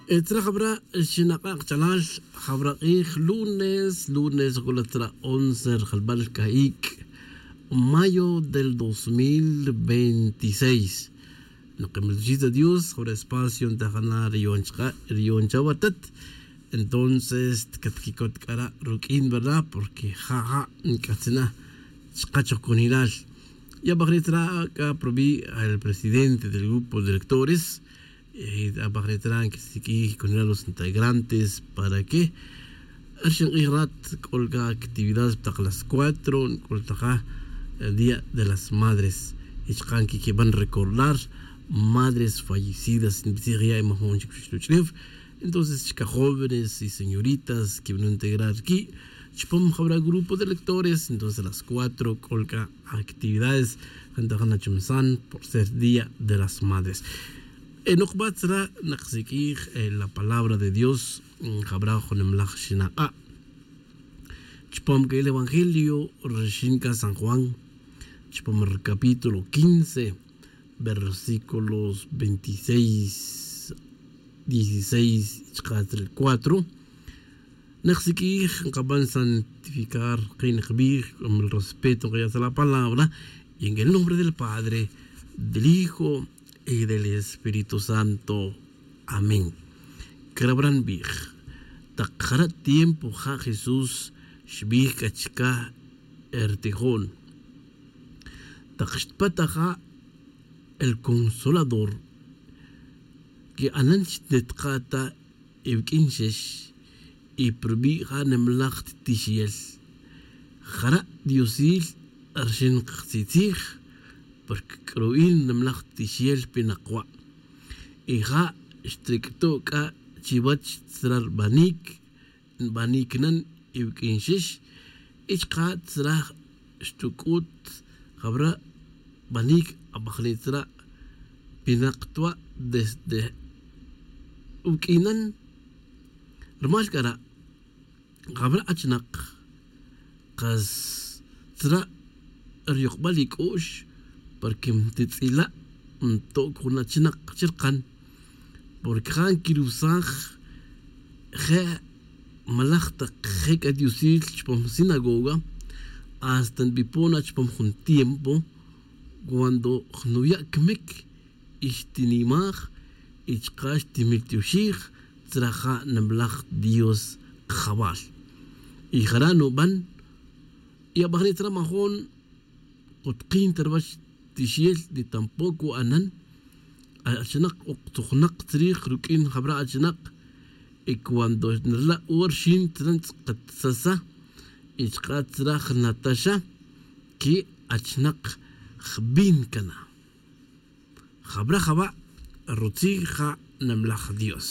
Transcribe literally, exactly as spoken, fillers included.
Tzra jabra' xinak'a' kachalal, jabra' k'ij lunes lunes juk'ula' tzra' once rjalbal ca'ic' mayo del dos mil veintiséis. Nokimil ruxij ta dios jabra' espacio ntajana' riyon chaka' riyon chawatat. Entonces catquicot c'ara' ruq'uin verdad porque ja' ja' nc'atzina' chaka' chojconilal. Y abajri' tzra' c'a provi' el presidente del grupo de lectores. Abajri' tzra' nquisiq'uij conilal los integrantes para que rxin k'ij rat c'o c'a actividades pa tak las cuatro nc'ultaja día de las madres. Y chaka' nquiquiban recordar madres fallecidas nbitzij ya' y majun chic ruxluch'lef. Entonces chaka' jóvenes y señoritas quibin integrar qui' chupam jabra' grupo de lectores. Entonces las cuatro c'o c'a actividades jantajan achumsan por ser día de las madres. Enokbat tzra' naksiq'uij la palabra de dios. Jabra' junimlaj xinak'a' chupam c'a el evangelio rixin c'a san juan chupam ri capítulo quince versículos veintiséis, dieciséis chaka' ri cuatro. Naksiq'uij nkaban santificar kin kbij con el respeto nkayaw sa la palabra. Y en el nombre del padre, del hijo y del espíritu santo. Amén. Crabran bij tak jara' tiempo ja' jesús xbij c'a chicaj ertijon tak xtpat aja' el consolador. Que anan xnetaka' ta iwuq'uin xex y prubi' ja' nimlaj titixiyel. Jara' diosil rxin kajtzitzij porque k'ru'il nimlaj titixiyel pinak wa'. Y ja' xtric'tu' c'a chiwech tzra' rbanic nbanic nan iwuq'uin xex. Y chaka' tzra' xtuc'ut jabra' banic abajni' tzra' pinak twa' desde uq'uinan. Rumal c'ara' jabra' achinak kas tzra' riyokbal ic'u'x porque ntitz'ila' ntoc jun achinak chirkan. Porque ja' nquirusaj je' malaj tak je' c'a diosil chupam sinagoga. Hasta nbipon na chupam jun tiempo cuando nuya' camic y xtinimaj y chaka' xtimiltioxij tzra' ja' nimlaj dios kajawal. Y jara' nuban y abajni' tzra' majun kutkin ta ruwech tixiyel ni tampoco anan. Achinak ok tzujnak tzrij ruq'uin jabra' achinak. Y cuando nrila' ora xin tzra' ntz'akatsasa y chaka' tzra' jnataxa que achinak jbin cana. Jabra' jaba' rutzij ja' nimlaj dios.